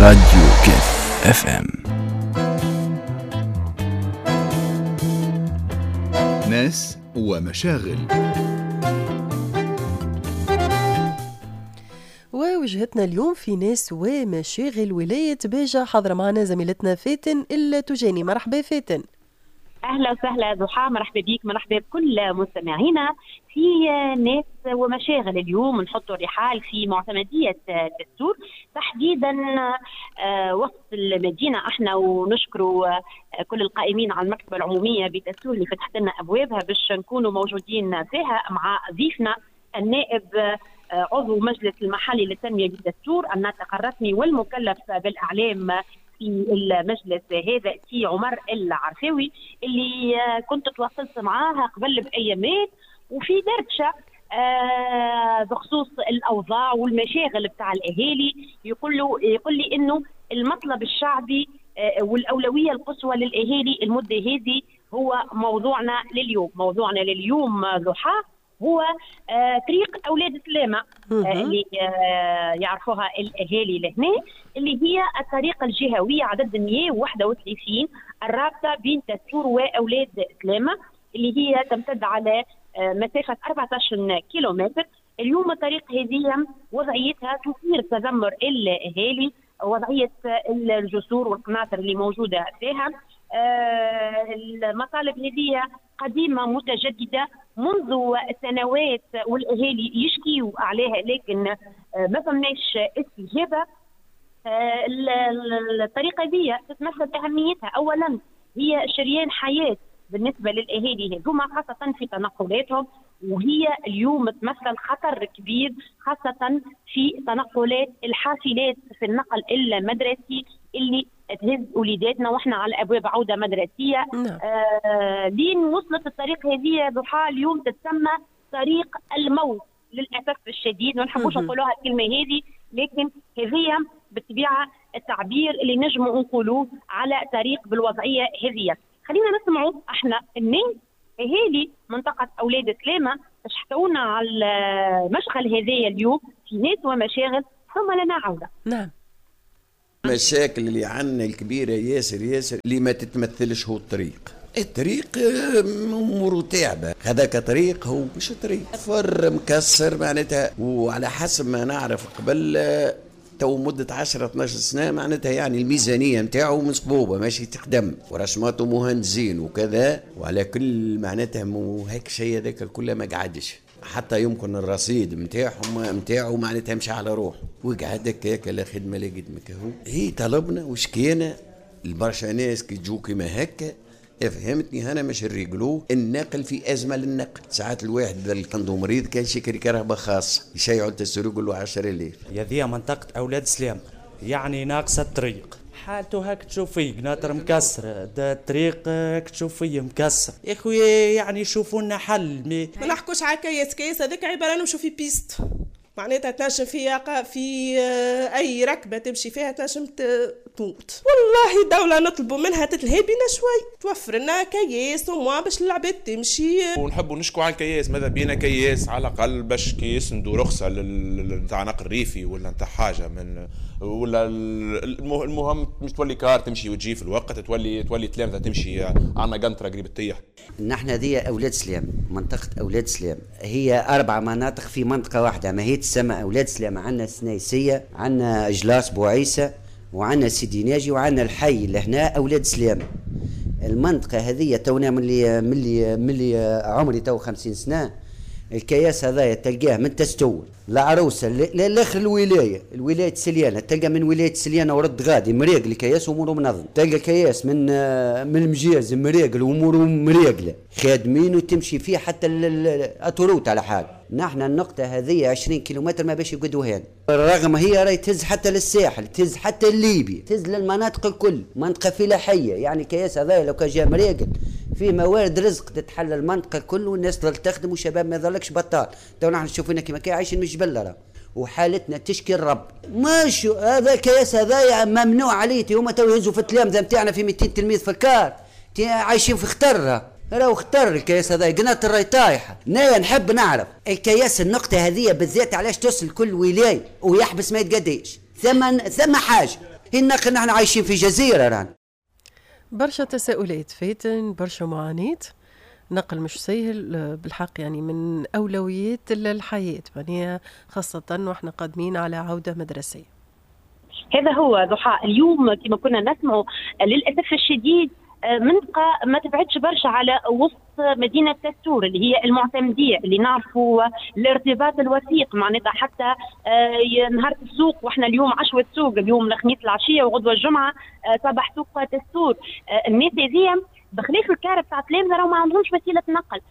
راديو كيف FM. ناس ومشاغل. ووجهتنا اليوم في ناس ومشاغل ولاية باجة، حاضرة معنا زميلتنا فاتن التجاني. مرحبا فاتن. اهلا وسهلا ضحى، مرحبا بك، مرحبا بكل مستمعينا في ناس ومشاغل. اليوم نحط الرحال في معتمدية الدستور، تحديدا وسط المدينة احنا، ونشكر كل القائمين على المكتبة العمومية بتستور اللي فتحت لنا ابوابها باش نكونوا موجودين فيها مع ضيفنا النائب عضو مجلس المحلي للتنمية بالدستور الناطق الرسمي والمكلف بالإعلام في المجلس هذا سي عمر العرفاوي، اللي كنت تواصلت معاها قبل بأيامات وفي دردشة بخصوص الأوضاع والمشاغل بتاع الأهالي. يقول لي إنه المطلب الشعبي والأولوية القصوى للأهالي المدة هذه هو موضوعنا لليوم. موضوعنا لليوم ضحى هو طريق أولاد سلامة اللي يعرفوها الأهالي لهنا، اللي هي الطريقة الجهوية عدد 131 الرابطة بين تستور وأولاد سلامة، اللي هي تمتد على مسافة 14 كيلومتر. اليوم الطريق هذه وضعيتها تثير تذمر الأهالي، وضعية الجسور والقناطر اللي موجودة فيها. المطالب هذه قديمة متجددة منذ سنوات والأهالي يشكيوا عليها، لكن ما فماش استجابة. الطريقة دي تتمثل أهميتها، أولا هي شريان حياة بالنسبة للأهالي هذوما خاصة في تنقلاتهم، وهي اليوم تمثل خطر كبير خاصة في تنقلات الحافلات في النقل المدرسي اللي تهز وليداتنا واحنا على ابواب عوده مدرسيه. لين وصلت الطريق هذه ضحى اليوم تتسمى طريق الموت للاسف الشديد، ما نحبوش نقولوها الكلمة هذه، لكن هذه بالطبيعة التعبير اللي نجموا نقولوه على طريق بالوضعيه هذه. خلينا نسمعوا احنا الناس اهالي منطقة اولاد سلامه باش حكونا على المشغل هذايا اليوم في ناس ومشاغل، ثم لنا عوده. نعم. المشاكل اللي عندنا الكبيرة ياسر ياسر اللي ما تتمثلش هو الطريق. الطريق اموره تعبه، هذاك طريق هو مش طريق، فر مكسر معناتها. وعلى حسب ما نعرف قبل تو مدة 10 12 سنة معناتها يعني الميزانية نتاعو مصبوبة ماشي تقدم ورسماته مهندسين وكذا، وعلى كل معناتها مو هيك شيء هذاك الكل ما قعدش، حتى يمكن الرصيد نتاعو معناتها مشى على روحه وقعد هكاك لا خدمة لا قدمه. هو هي طلبنا وشكينا البرشا ناس كي تجو كيما هكا، فهمتني، انا مش الرجلو النقل في ازمة للنقل. ساعات الواحد اللي عنده مريض كان شكري كرهبه خاصة يشيعوا التسرق له 10000. يا ذي منطقة اولاد سلام يعني ناقصه الطريق، حالته هاك تشوف فيه قناطر مكسرة، الطريق هاك تشوف فيه مكسر يا خويا، يعني شوفوا لنا حل. ما نحكوش على كياس، كياس هذاك عبارة نمشوا في piste، معناتها تنجم في اي ركبه تمشي فيها تنجم تموت. والله الدولة نطلبوا منها تتلهي بينا شوي، توفر لنا كياس وموا باش العباد تمشي. ونحبوا نشكوا على الكياس، ماذا بينا كياس على الاقل باش كي يسندوا رخصه نتاع نقل ريفي ولا نتاع حاجة من ولا المهم مش تولي كار تمشي وتجي في الوقت، تولي تلامذه تمشي عندنا قنطرة قريب تطيح. نحن ذي اولاد سلام، منطقة اولاد سلام هي 4 مناطق في منطقة واحدة، ما هي تسمى اولاد سلام. عندنا السنايسيه، عندنا اجلاس بوعيسى، وعندنا سيدي ناجي، وعندنا الحي اللي هنا اولاد سلام. المنطقة هذه تونا من اللي عمري تو 50 سنة، الكياس هذايا تلقاه من تستول العروسة لاخر الولاية، الولاية سليانه، تلقى من ولاية سليانه ورد غادي مريق الكياس اموره منظم، تلقى الكياس من المجاز مريقل واموره مريقله خادمين وتمشي فيه حتى ال autoroute على حال. نحن النقطة هذه 20 كيلومتر ما باش يقعدوا هنا، رغم هي راهي تهز حتى للساحل، تهز حتى لليبيا، تهز للمناطق الكل، منطقة فلاحية. يعني الكياس هذا لو كان جا مريقل فيه موارد رزق تتحل المنطقة الكل والناس تظل تخدم وشباب ما يظلكش بطال. تو نحن شوفنا كيما كي عايشين من الجبل راه، وحالتنا تشكي الرب. مش هذا الكياس هذا ممنوع عليه، هما تو يهزوا في التلامذه نتاعنا في 200 تلميذ في الكار، عايشين في خطر، راهو خطر الكياس هذا، قناطر راهي طايحة. نايا نحب نعرف الكياس النقطة هذه بالذات علاش توصل كل ولاية ويحبس ما يتقديش. ثم حاجة النقل نحن عايشين في جزيرة رانا. برشا تساؤلات فاتن، برشا معاناة، نقل مش سهل بالحق، يعني من أولويات الحياة، يعني خاصة وإحنا قادمين على عودة مدرسية. هذا هو ضحى. اليوم كما كنا نسمع للأسف الشديد منطقة ما تبعدش برشا على وسط مدينة تستور اللي هي المعتمدية، اللي نعرفوا الارتباط الوثيق معناتها حتى نهار السوق، واحنا اليوم عشوة سوق، اليوم الخميس العشية وغدوة الجمعة صباح سوق تستور. الناس هذه بخلاف الكار تاع تلامذة راهو ما عندهمش وسيلة نقل،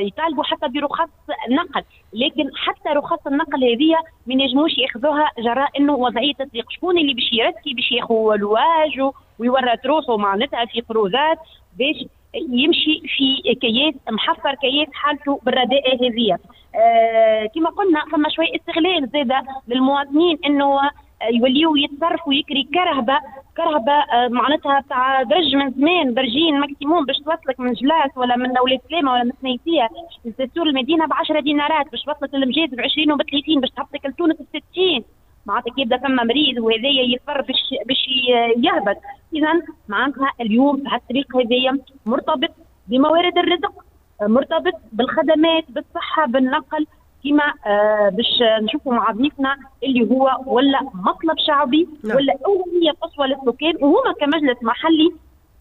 يطالبوا حتى برخص نقل، لكن حتى رخص النقل هذه ما ينجموش ياخذوها جراء انه وضعية التطبيق. شكون اللي باش يرسكي باش ياخذ لواج ويورط روحه معناتها في قروضات باش يمشي في كياس محفر، كياس حالته بالرداءة هذه. كما قلنا فما شوية استغلال زاده للمواطنين انه يوليو يتصرفوا يكري كرهبه معناتها تاع درج من زمان، درجين maximum باش توصلك من جلاس ولا من اولاد سلامه ولا من سنيسيه لتستور المدينة ب 10 دينارات، باش توصلك للمجاز ب 20 وب 30، باش تهبطك لتونس ب 60. معناتها كي يبدا فما مريض وهذايا يضطر باش يهبط. اذا معناتها اليوم هالطريق هذايا مرتبط بموارد الرزق، مرتبط بالخدمات، بالصحة، بالنقل، كما باش نشوفوا مع ضيفنا اللي هو ولا مطلب شعبي ولا اولوية قصوى للسكان، وهما كمجلس محلي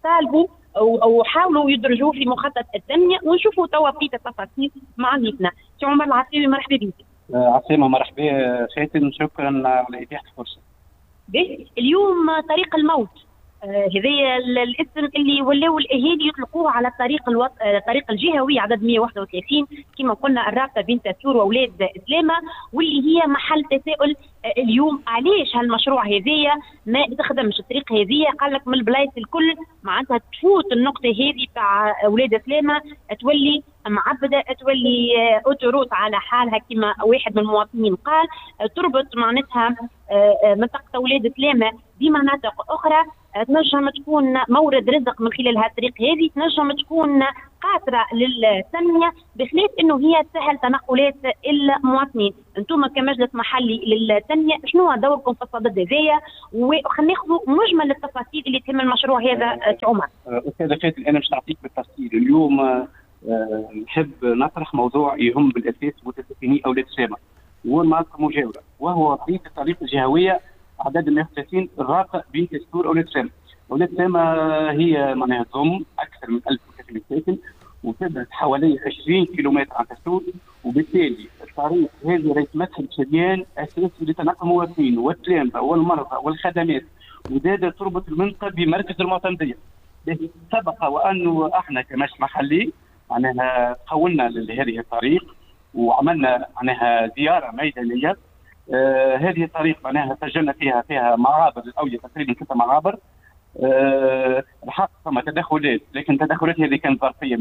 طالبوا او حاولوا يدرجوه في مخطط التنمية، ونشوفوا توا بقية التفاصيل مع ضيفنا. سي عمر العساوي مرحبا بك. عسلامة، مرحبا فاتن، شكرا على اتاحة الفرصة. اليوم طريق الموت، هذا الاسم اللي ولاو الاهالي يطلقوه على الطريق الطريق الجهوي عدد 131 كما قلنا، الرابطة بين تستور واولاد سلامه، واللي هي محل تساؤل اليوم علاش هالمشروع هذايا ما تخدمش الطريق هذيا. قال لك من البلايص الكل معناتها تفوت النقطة هذه تاع اولاد سلامه تولي معبده، تولي autoroute على حالها كما واحد من المواطنين قال، تربط معناتها منطقة اولاد سلامه بمناطق اخرى، تنجم تكون مورد رزق من خلال هالطريق هذه، تنجم تكون قاطره للتنمية، بخلاف انه هي تسهل تنقلات المواطنين. انتم كمجلس محلي للتنمية شنو دوركم في الصدد هذايا؟ وخلينا ناخذوا مجمل التفاصيل اللي تهم المشروع هذا سي عمر. استاذه فاتن، انا مش نعطيك بالتفصيل اليوم. نحب نطرح موضوع يهم بالاساس متساكني اولاد سلامه والمناطق المجاورة، وهو وضعية الطريق الجهوية عدد 131 الرابطة بين تستور اولاد سلامه. اولاد سلامه هي معناها تضم اكثر من 1300 ساكن وتبعد حوالي 20 كيلومتر عن تستور، وبالتالي الطريق هذه راهي تمثل شريان اساسي لتنقل المواطنين والتلامذه والمرضى والخدمات، وزاد تربط المنطقة بمركز المعتمديه. سبق وانه احنا كمجلس محلي معناها تحولنا لهذه الطريق وعملنا معناها زيارة ميدانية. هذه الطريق معناها سجلنا فيها معابر الاولية، تقريبا 6 معابر. الحق فما تدخلات، لكن التدخلات هذه كانت ظرفيه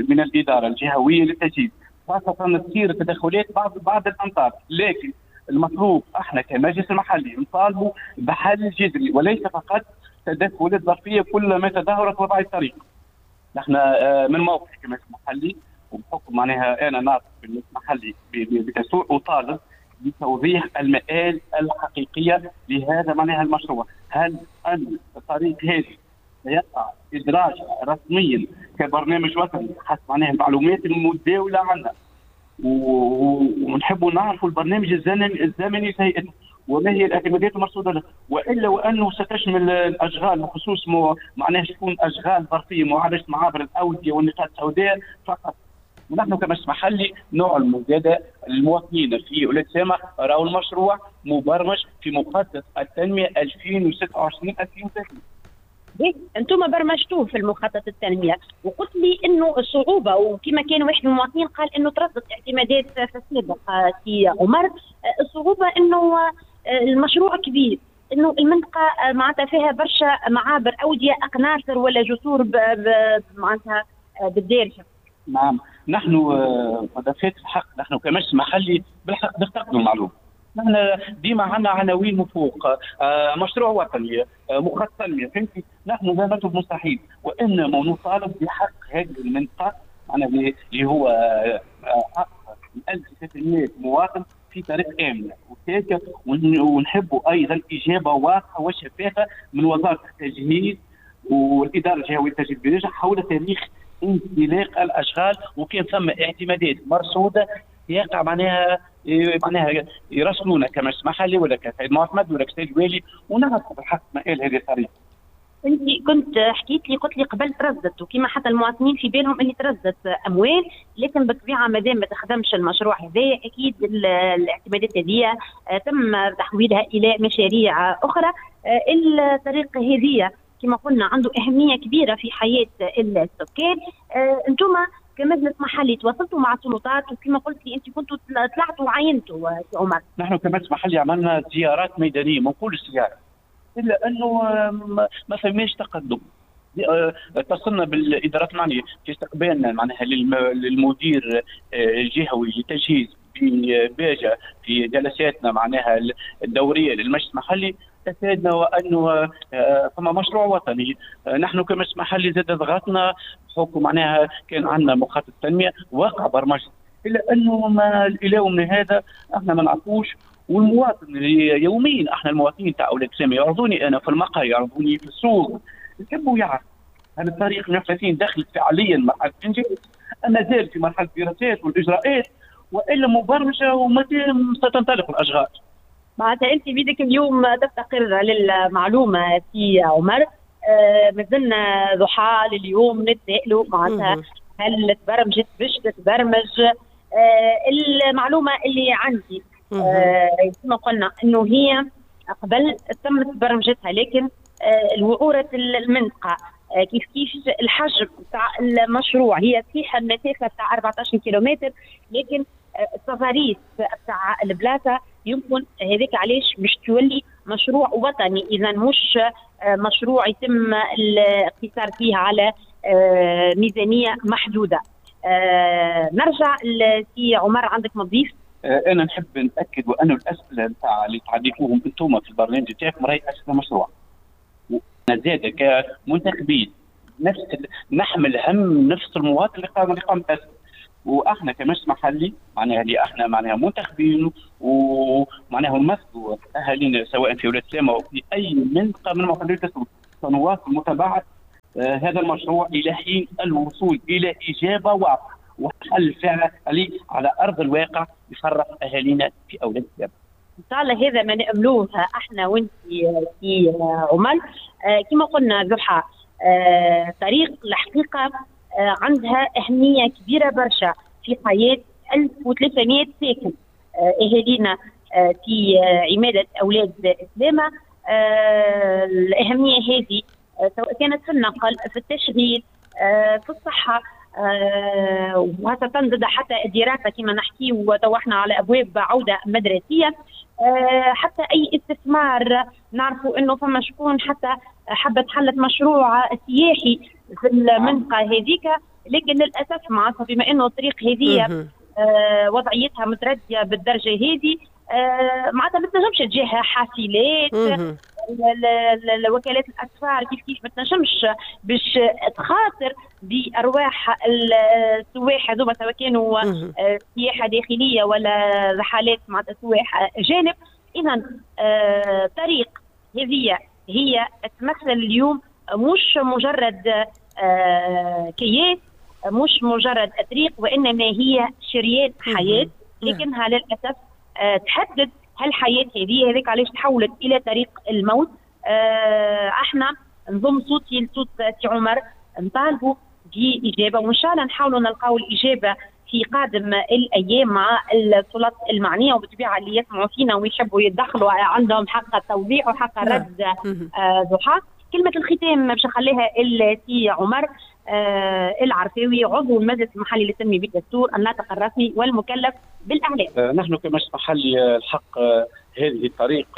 من الادارة الجهوية للتجهيز، خاصة تصير تدخلات بعد الامطار. لكن المطلوب احنا كمجلس المحلي نطالبوا بحل جذري وليس فقط تدخلات ظرفيه كلما تدهورت وضع الطريق. نحن من موقعي كمجلس محلي وبحكم معناها انا ناطق بالمجلس المحلي بتسوق، اطالب بتوضيح المآل الحقيقية لهذا معناها المشروع. هل أن الطريق هذه سيقع إدراج رسميا كبرنامج وطني حسب معناها المعلومات المتداولة عنا، ونحبوا نعرفوا البرنامج الزمني لهيئته وما هي الاعتمادات المرصوده له، والا وانه ستشمل الاشغال بخصوص معناها تكون اشغال ظرفيه معالجة معابر الاودية والنقاط السوداء فقط. ونحن كمجلس محلي نعلم زاد المواطنين في اولاد سامة راهو المشروع مبرمج في مخطط التنمية 2026 2030. انتم برمجتوه في المخطط التنمية، وقلت لي انه الصعوبة، وكما كان واحد من المواطنين قال انه تردت اعتمادات في السابق سي عمر، الصعوبة انه المشروع كبير، انه المنطقة معناتها فيها برشا معابر اوديه اقناصر ولا جسور معناتها بالدارجة. نعم، نحن مدافعات الحق، نحن كمجلس محلي بالحق نفتقدوا المعلومة. نحن ديما عندنا عناوين من فوق، مشروع وطني، مخطط تنمية، فهمتي؟ نحن لا نطلب مستحيل، وانما نطالب بحق هذه المنطقة، معناها اللي هو حق 1300 مواطن في طريق امنه وسالكه، ونحبوا ايضا اجابه واضحة وشفافه من وزارة التجهيز والادارة الجهوية للتجهيز بالنجاح حول تاريخ انطلاق الاشغال، وكان ثم اعتمادات مرصوده يقع معناها يراسلونا كمجلس محلي ولا كسيد معتمد ولا كسيد والي، ونعرفوا بالحق مآل هذه الطريق. انت كنت حكيت لي قلت لي قبل ترصدت، وكما حتى المواطنين في بالهم اللي ترصدت اموال، لكن بالطبيعة ما دام ما تخدمش المشروع هذا اكيد الاعتمادات هذه تم تحويلها الى مشاريع اخرى. الطريق هذه كما قلنا عنده اهمية كبيرة في حياة السكان. انتم كمجلس محلي تواصلتوا مع السلطات، وكما قلت لي انت كنتوا طلعتوا وعينتوا سي عمر. نحن كمجلس محلي عملنا زيارات ميدانية، ما نقولش زيارة، الا انه ما فماش تقدم. اتصلنا بالادارات المعنية في استقبالنا معناها للمدير الجهوي للتجهيز بباجة في جلساتنا معناها الدورية للمجلس المحلي، افادنا وانه فما مشروع وطني. نحن كمجلس محلي زاد ضغطنا بحكم معناها كان عندنا مخطط تنمية واقع برمجة، الا انه ما الى يومنا هذا احنا ما نعرفوش. والمواطن اللي يوميا احنا المواطنين تاع اولاد سامي يعرضوني انا في المقهى، يعرضوني في السوق، يحبوا يعرف هل الطريق 130 دخلت فعليا مرحلة الانجاز ام مازال في مرحلة الدراسات والاجراءات، والا مبرمجه ومتى ستنطلق الاشغال. معناتها انت بيدك اليوم تفتقر للمعلومة سي عمر. مازلنا ضحى لليوم نتسائلوا معناتها هل تبرمجت باش تتبرمج. المعلومة اللي عندي كما قلنا انه هي قبل تمت برمجتها، لكن الوعوره المنطقة كيف كيف الحجم تاع المشروع، هي صحيح المسافة تاع 14 كيلومتر، لكن التضاريس تاع البلاصة يمكن هذاك علاش باش تولي مشروع وطني، اذا مش مشروع يتم الاقتصار فيه على ميزانية محدودة. نرجع لسي عمر، عندك مضيف؟ انا نحب ناكد وانه الاسئلة نتاع اللي تعديتوهم انتم في البرنامج تاعكم راهي اسئلة مشروع. زاد كمنتخبين نفس نحمل هم نفس المواطن اللي قام بالاسئلة، واحنا كمجلس محلي معناها اللي احنا معناها منتخبين ومعناها نمثلوا اهالينا سواء في ولاد سلامه او في اي منطقة من مناطق التسويق، سنواصل متابعه هذا المشروع الى حين الوصول الى اجابه واضحة وحل فعلي على ارض الواقع يفرح اهالينا في اولاد سلامه. ان شاء الله هذا ما ناملوه احنا وانت في عمر. كما قلنا ضحى، طريق الحقيقة عندها اهمية كبيرة برشا في حياة 1300 ساكن اهالينا في عماده اولاد سلامه. الاهمية هذه سواء كانت في النقل، في التشغيل، في الصحة، وخاصة ضد حتى الدراسة كما نحكي وتو احنا على أبواب عودة مدرسية، حتى أي استثمار نعرفوا أنه فما شكون حتى حبت حلت مشروع سياحي في المنطقة هذيك، لكن للأسف معناتها بما أنه الطريق هذه وضعيتها متردية بالدرجة هذه، معناتها ما تنجمش تجيها حافلات، الوكالات الاسفار كيف كيف ما تنجمش باش تخاطر بارواح السواح هذوما سواء كانوا سياحة داخلية ولا رحلات مع سواح اجانب. اذا طريق هذه هي تمثل اليوم مش مجرد كياس، مش مجرد طريق، وانما هي شريان حياة، لكنها للاسف تحدد هالحياة هذه. هذاك علاش تحولت الى طريق الموت. احنا نضم صوتي لصوت سي عمر، نطالبوا باجابة، وان شاء الله نحاولوا نلقاو الاجابة في قادم الايام مع السلطات المعنية، وبالطبيعه اللي يسمعوا فينا ويحبوا يتدخلوا عندهم حق التوضيح وحق الرد. ضحى، كلمة الختام باش نخليها لسي عمر العرفاوي، عضو المجلس المحلي للتنمية بالدستور، الناطق الرسمي والمكلف بالاعلام. نحن كمجلس محلي الحق هذه الطريق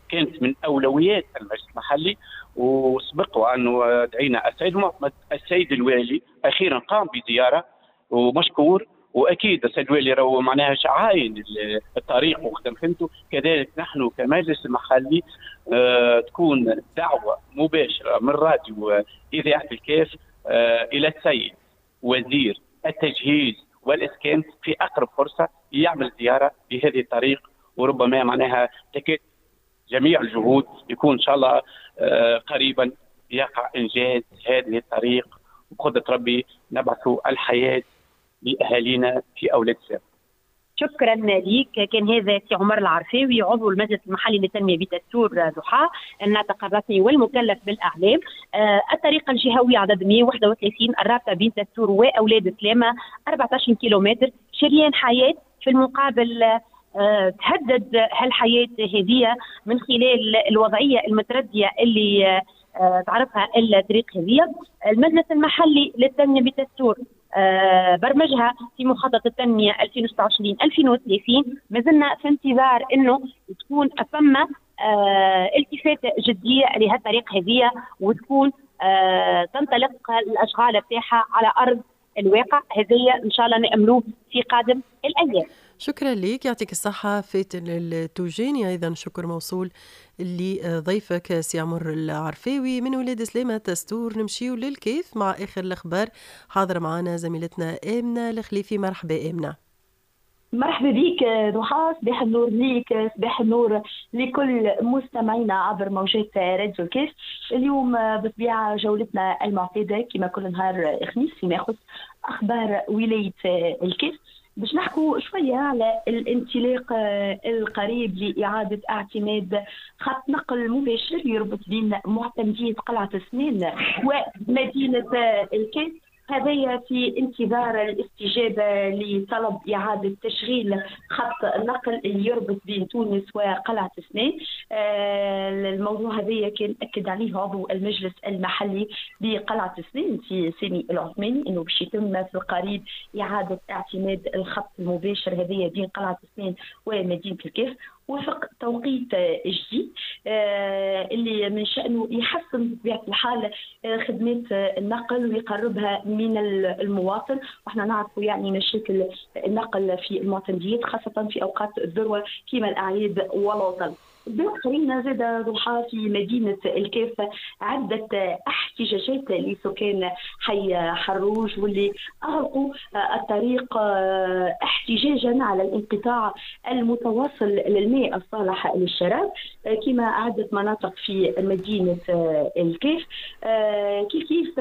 كانت من اولويات المجلس المحلي، وسبق وانه دعينا السيد المعتمد السيد الوالي اخيرا قام بزيارة ومشكور، واكيد السيد الوالي راهو معناها عاين الطريق وخدم خدمته. كذلك نحن كمجلس محلي تكون دعوه مباشرة من راديو اذاعة الكاف الى السيد وزير التجهيز والاسكان في اقرب فرصة يعمل زيارة بهذه الطريق وربما معناها تكاد جميع الجهود يكون ان شاء الله قريبا يقع انجاز هذه الطريق، وبقدره ربي نبعث الحياة لاهالينا في اولاد سلامه. شكرا لك. كان هذا سي عمر العرفاوي عضو المجلس المحلي للتنمية بتستور ضحى، الناطق الرسمي والمكلف بالاعلام. الطريقة الجهوية عدد 131 الرابطة بين تستور واولاد سلامه 14 كيلومتر، شريان حياة. في المقابل تهدد هالحياة هذه من خلال الوضعية المترديه اللي تعرفها الطريق هذه. المجلس المحلي للتنمية بتستور برمجها في مخطط التنمية 2026-2030. ما زلنا في انتظار انه تكون فما التفاته جدية لهالطريق هذه وتكون تنطلق الاشغال بتاعها على ارض الواقع. هذه ان شاء الله ناملوه في قادم الايام. شكرا لك، يعطيك الصحة فاتن التوجيني. أيضا شكر موصول لضيفك سي عمر العرفاوي من ولاد سلامة تستور. نمشيو للكيف مع آخر الأخبار، حاضر معنا زميلتنا آمنة الخليفي. مرحبا آمنة. مرحبا بك ضحى، صباح النور ليك، صباح النور لكل مستمعينا عبر موجات راديو الكاف. اليوم بطبيعة جولتنا المعتادة كما كل نهار خميس فيما يخص أخبار ولاية الكاف، باش نحكوا شوية على الانطلاق القريب لإعادة اعتماد خط نقل مباشر يربط بين معتمدية قلعة السنان ومدينة الكاف. هذايا في انتظار الاستجابة لطلب إعادة تشغيل خط النقل اللي يربط بين تونس وقلعة سنان. الموضوع هذايا كان أكد عليه عضو المجلس المحلي بقلعة سنان في سامي العثماني أنه باش يتم في القريب إعادة اعتماد الخط المباشر هذايا بين قلعة سنان ومدينة الكاف وفق توقيت جديد اللي من شأنه يحسن بطبيعة الحال خدمات النقل ويقربها من المواطن. واحنا نعرفوا يعني مشاكل النقل في المعتمديات خاصة في أوقات الذروة كما الأعياد والعطل. خلينا زاد ضحى في مدينة الكاف عدة احتجاجات لسكان حي حروج واللي أغلقوا الطريق احتجاجا على الانقطاع المتواصل للماء الصالح للشراب كما عدة مناطق في مدينة الكاف. كيف كيف